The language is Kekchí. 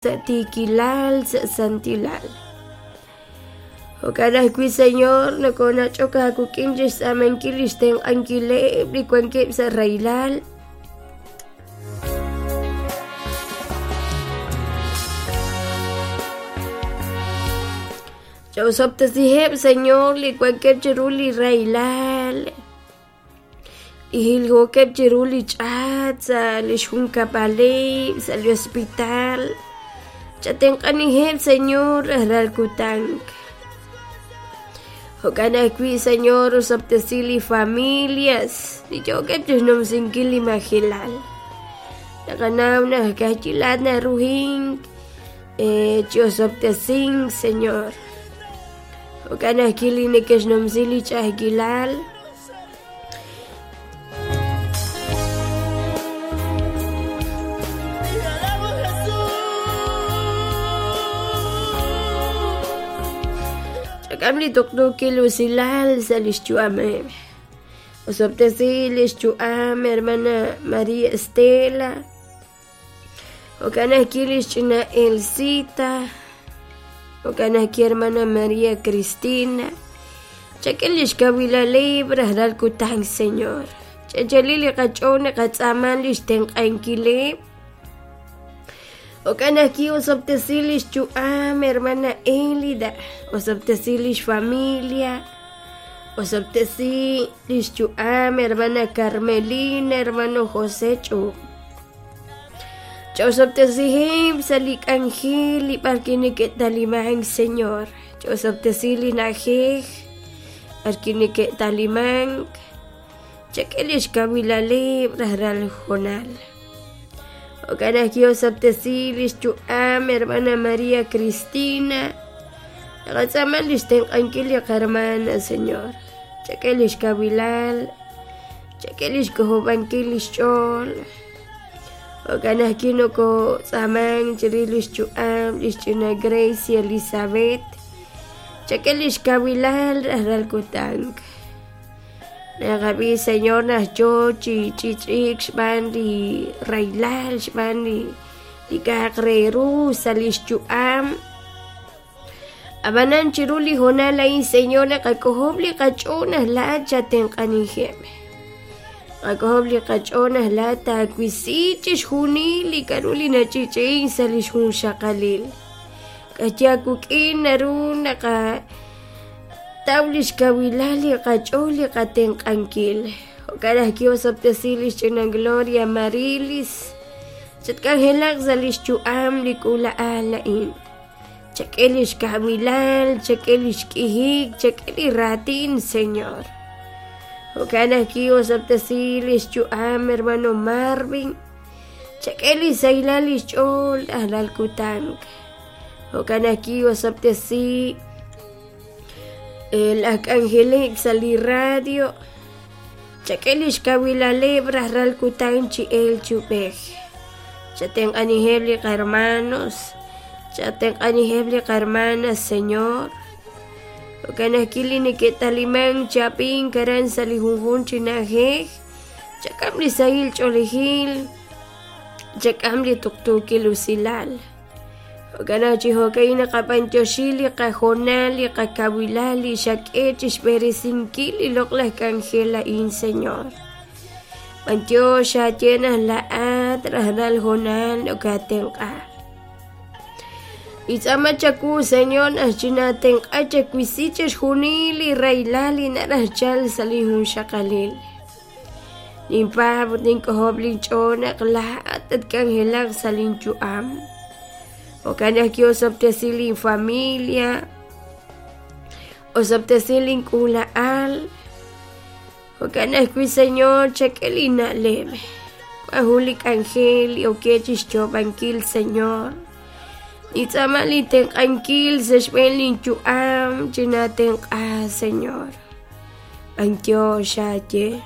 Sa' tiikilal, sa' santilal. Jo'kan ajwi', Señor, nokonach'ok aawik'in chixtz'aamankil lix tenq'ankileb' li wankeb' sa' rahilal. Cha'osob'tesiheb', Señor, li wankeb' chiru li rahilal. Li jiljookeb' chiru li ch'aat sa' li xjunkab'aleb' sa' li hospital. Chatenq'aniheb', Señor, rajlal kutan. Jo'kan ajwi', Señor, osob'tesi li familias li yookeb' chixnumsinkil li majelal. Naqanaw naq ka'ajwi' laa'at naruhink chi osob'tesink, Señor. Jo'kan ajwi' li neke'xnumsi li ch'a'ajkilal. Chak'am li tuqtuukil usilal sa' lix yu'ameb'. Osob'tesi lix yu'am hermana María Estela. Jo'kan ajwi' lix ch'ina Elsita. Jo'kan ajwi' hermana María Cristina. Chak'e lix kawilaleb' rajlal kutan, Señor. Ch'anchali li qach'ool naqatz'aama lix tenq'ankileb'. Jo'kan ajwi' osob'tesi lix yu'am hermana Elida. Osob'tesi lix familia. Osob'tesi lix yu'am hermana Carmelina, hermano José Ch'up. Ch'osob'tesiheb' sa' li k'anjel li b'arwi' neke'talimank, Señor. Ch'osob'tesi li na'ajej b'arwi' neke'talimank. Chak'e lix kawilaleb' rajlal hoonal. Jo'kan ajwi' osob'tesi lix yu'am hermana María Cristina. Naqatz'aama lix tenq'ankil li qahermana, Señor. Chak'e lix kawilal, chak'e lix k'ojob'ankil lix ch'ool. Jo'kan ajwi' nokotz'aamank chirix lix yu'am lix ch'ina Grace Elizabeth. Chak'e lix kawilal rajlal kutan. Naqab'i, Señor, naq yoo chi ch'ich'iik xb'aan li rahilal, xb'aan li li k'a'aq re ru sa' lix yu'am. Ab'anan chiru li hoonal a'in, Señor, naqak'ojob' li qach'ool naq laa'at chatenq'aniheb'. Qak'ojob' li qach'ool naq laa'at taawisi chixjunil li k'a'ru li nach'ich'i'ink sa' lix junxaqalil. K'aye aawik'in naru naqa Taw lix kawilal li qach'ool li qatenq'ankil. Jo'kan ajwi' osob'tesi lix ch'ina Gloria Marilis. Chatk'anjelaq sa' lix yu'am li k'uula'al a'in. Chak'e lix kawilal, chak'e lix k'ihik, chak'e li raatin, Señor. Jo'kan ajwi' osob'tesi lix yu'am hermano Marvin. Chak'e li sahilal lix ch'ool rajlal kutan. Jo'kan ajwi' osob'tesi laj k'anjeleb' sa' li radio. Chak'e lix kawilaleb' rajlal kutan chi elk chi ub'ej. Chatenq'aniheb' li qahermanos, chatenq'aniheb' li qahermanas, Señor. Jo'kan ajwi' li neke'talimank chi ab'ink aran sa' li junjunq chi na'ajej, chak'am li sahil ch'oolejil, chak'am li tuqtuukil usilal. Jo'kan naq chi jo'ka'in naqab'anyoxi li qahoonal, li qakawilal, li xak'e chixb'eresinkil li loq'laj k'anjel a'in, Señor. B'antiox aaye naq laa'at rajlal hoonal nokaatenq'a. Itz'aama chawu, Señor, naq chinaatenq'a chawisi chixjunil li rahilal li naraj chalk sa' li junxaqalil. Ninpaab' ut nink'ojob' linch'ool naq laa'at tatk'anjelaq sa' linyu'am. Jo'kan naq ki'osob'tesi linfamilia, osob'tesi link'uula'al. Jo'kan ajwi', Señor, chak'e linna'leb'. Wan jun li k'anjel li ok chixyoob'ankil, Señor. Nintz'aama lintenq'ankil sa' xb'een linyu'am, chinaatenq'a, Señor. B'antiox aaye.